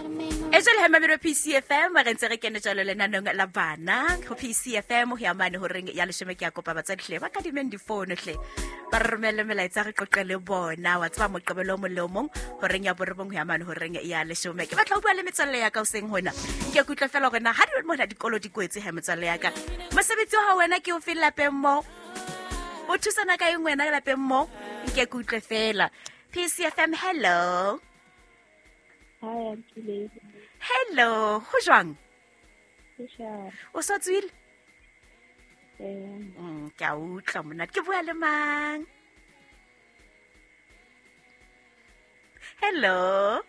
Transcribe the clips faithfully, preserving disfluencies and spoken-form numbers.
E jwale he mamelo P C F M re ntse re kene jwalo lenaneng la bana ho P C F M ho ya mane horeng ya leshome ke ya kopa batswadi hle ba kadimeng difono hle ba re romelle melaetsa re qoqe le bona wa tseba moqebelo o mong le o mong horeng ya borobong ho ya mane horeng ya leshome. Ke batla ho bua le metswalle ya ka hoseng hona ke kutlwa fela hore na ha di mona dikolo di kwetse he metswalle ya ka mosebetsi wa hao wena ke o fe lapeng mo o thusana ka eng wena lapeng mo nke kutlwe fela. P C F M, hello. Hi, Auntie Lady. Hello, ho jwang? Ke O sa tswile? Eh. Mm, ke a utlwa monate. Ke bua le mang? Hello.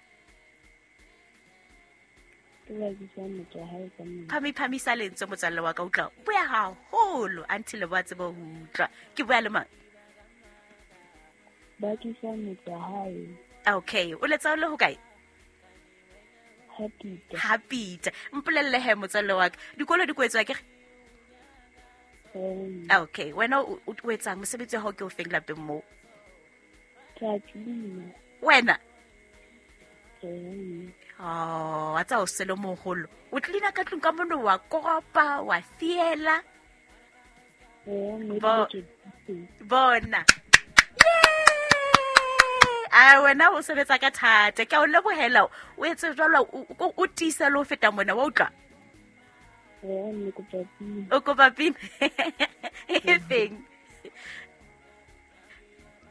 Ke ba bitsa motho wa hae ka mona. Phami phamisa lentswe motswalle wa ka utlwa. Bua haholo until ba tsebe ho utlwa. Ke bua le mang? Ba tlisa motho wa hae. Okay, o letsa o le hokae? Happy. Happy. Mpolelle he motswalle wa ka. Dikolo di kwetswa ke re? Okay, wena o o etsang mosebetsi wa hao ke o feng lapeng moo? Ke clean. Wena? Eh. Oh, wa tsa o sele moholo. O tlina ka tlung ka mono wa koropa, wa fiela. Eh, mme Bo- ke Bona. A wena o sebetsa ka thata. Ke a o lebohela. O etse jwalo o o o tiisa le ho feta mona wa utlwa? Eh, mme kopa pina. O kopa pina? E feng?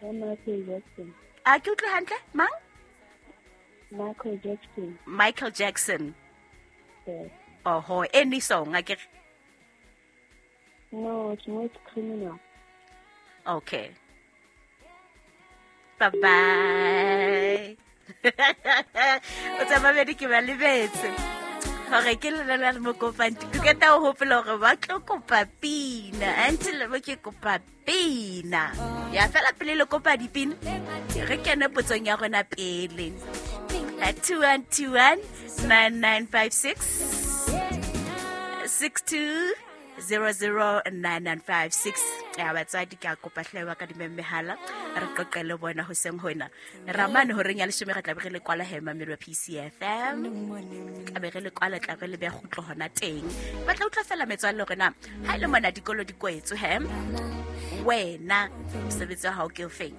Ya Michael Jackson. A ke utlwe hantle? Mang? Michael Jackson. Michael Jackson. Yes. Oho, any song a ke re? No, it's not criminal. Okay. Bye bye. O tsamaya ke ba lebetse. Hore ke lena la mo kopang ke qeta ho hopola hore ba tlo kopa pina. Until ba ke kopa pina. Ya fela pele le kopa dipina. Re kene potsong ya rona pele. At two one two one nine nine five six six two zero zero nine nine five six. Ya batswadi ke a kopa hle ba ka dimemehala re qoqe le bona hoseng hona. Ramane horeng ya leshome re tla be re le kwala he mamelo P C F M. Tla be re le kwala tla re le be kgutlo hona teng. Ba tla utlwa fela metswalle hore na ha ile mona dikolo di kwetswe he wena mosebetsi wa hao ke o feng?